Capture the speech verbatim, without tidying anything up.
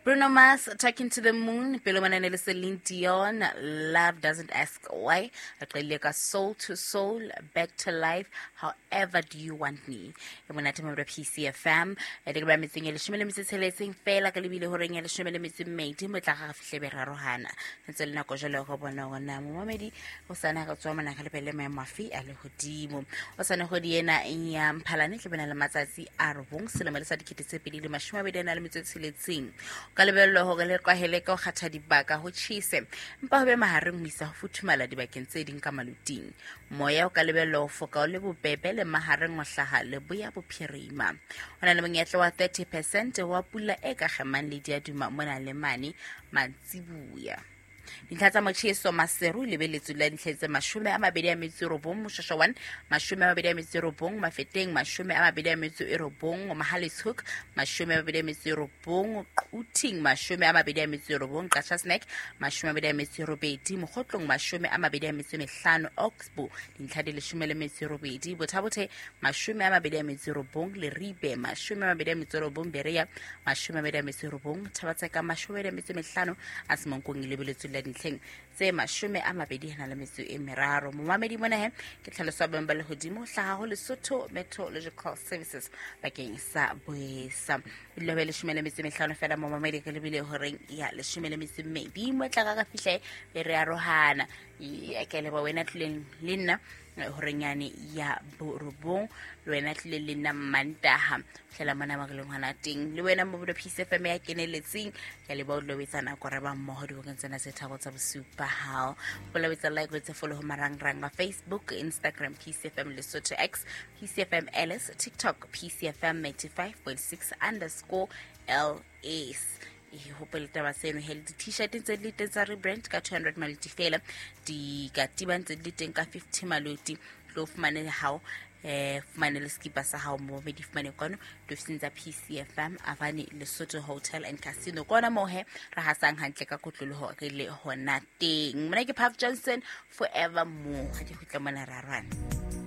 Bruno Mars, Talking to the Moon. Pele mona ne le Celine Dion, Love Doesn't Ask Why. Re qadile ka Soul to Soul, Back to Life, However Do You Want Me. E monate mo P C F M. E le ba metseng e leshome le metso e tsheletseng fela ka lebile horeng ya leshome le metso e mmedi mo tla ga fihle be rarohana. Ntse le nako jwale go bona hore na momamedi o sana re tswa mona re lebelle maemo afe a lehodimo. O sana kgwedi ena ya Mphalane tle bana le matsatsi a robong selemo le sa dikete tse pedi le mashome a mabedi a na le metso e tsheletseng. Ka lebello hore le kwahele ka ho kgatha dibaka ho tjhese empa ho be mahareng ho isa ho futhumala dibakeng tse ding ka maluting. Moya o ka lebello ho foka o le bobebe le mahareng ho hlaha leboya bophirima. Ho na le monyetla wa thirty percent wa pula e ka kgemang le diaduma mona le mane mantsibuya. Dintlha tsa motjheso Maseru lebeletswe la dintlha tse mashome a mabedi a metso e robong Moshwashwa one, mashome a mabedi a metso e robong Mafeteng, mashome a mabedi a metso e robong Mohale's Hoek, mashome a mabedi a metso e robong Quthing, mashome a mabedi a metso e robong Qacha's Nek, mashome a mabedi a metso e robedi Mokhotlong, mashome a mabedi a metso e mehlano Oxbow, dintlha di leshome le metso e robedi Botha-Bothe, mashome a mabedi a metso e robong Leribe, mashome a mabedi a metso e robong Berea, mashome a mabedi a metso e robong Thaba-Tseka, mashome a mabedi a metso e mehlano a Semonkong lebeletswe la dintlheng tse mashome a mabedi a na le metso e meraro. Momamedi mona he ke tlhaloso ya boemo ba lehodimo hlaha ho Lesotho Meteorological Services bakeng sa boesa. Ebile ho leshome le metso e mehlano fela momamedi re lebile horeng ya leshome le metso e mmedi mo tla ka fihle be re arohana. Ya ke leboha wena tlileng le nna horeng yane ya borobong, le wena tlileng le nna Mantaha hlela mona ba re leng hona teng, le wena mo P C F M ya keneletseng. Ke leboha o dula o etsa nako re ba mmoho dibokeng tsena tse tharo tsa bosiu ba hao. Hopola o etsa like, o etse follow ho marangrang a Facebook, Instagram P C F M Lesotho X, P C F M L S, TikTok P C F M ninety-five point six underscore L S. E hopole taba seno he le di-t-shirt tse di le teng tsa rebrand ka two hundred maloti fela, dikatiba ntse di le teng ka fifty maloti. Tlo fumane hao eh fumane le skipa sa hao mo be di fumane kwano diofising tsa P C F M Avani Lesotho Hotel and Casino. Kona moo he re hasang hantle ka kotloloho re le hona teng. Mona ke Puff Johnson, Forever More. Ha ke kgutla mona ra rwana.